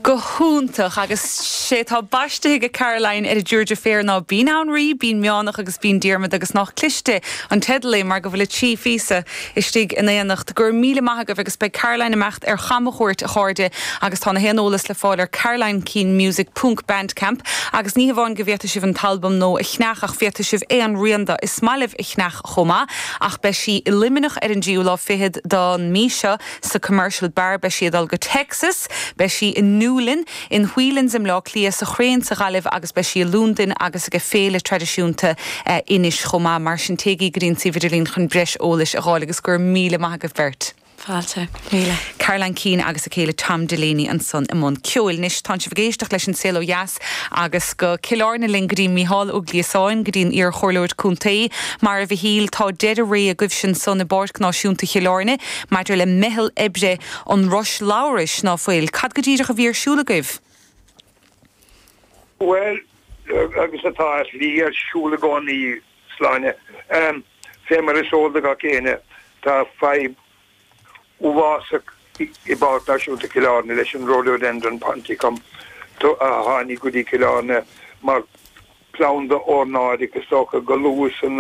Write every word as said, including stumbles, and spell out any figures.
Go hiontach agus sé tá baiste ag Caroline ar a dtriúr deirféar ná Bean Anraí, Bean Meánach agus Bean Diarmaid agus nach cliste an teideal é mar go bhfuil trí phíosa istigh in éineacht gur míle maith agaibh agus beidh Caroline imeacht ar chamchuairt a chairde agus tá na haon eolas le fáil ar Caroline Keane Music ponc Bandcamp agus ní hamháin go bhféadfaidh sibh an t-albam nua a cheannach ach féadfaidh sibh aon rian de is maith libh a cheannach chomh maith ach beidh sí i Luimneach ar an dtríú lá fichead den mhí seo sa Commercial Bar beidh sí ag dul go Texas, beidh sí i Newlyn in Whelan's i mBleá Cliath sa Chrane sa Ghaillimh agus beidh sí i Londain agus ag féile traidisiúnta eh, Inis chomh maith mar sin téigí go dtí an suíomh idirlín chun breis eolais a fháil agus gur míle maith agaibh beirt. Fáilte míle. Caroline Keane agus a céile Tom Delaney ansan i mbun ceoil anois tá sibh ag éisteacht leis an Saol Ó Dheas agus go Cill Airne linn go dtí Mícheál Ó Gliasáin go dtí an iarchomhairleoir contae mar a Mhichíl tá deireadh ré agaibh sin san i bPáirc Náisiúnta Chill Airne maidir le meitheal oibre an Rois Labhrais ná fuil, Cad go díreach a bhí ar siúl agaibh? Well agus atá lí ar siúl i gcónaí Sláine. Um, fé mar is eol do gach éinne tá fadhb uafásach i bPáirc Náisiúnta Chill Airne leis an Rhododendron ponticum a tháinig go dtí Cill Airne mar planda ornáide is dócha go luath san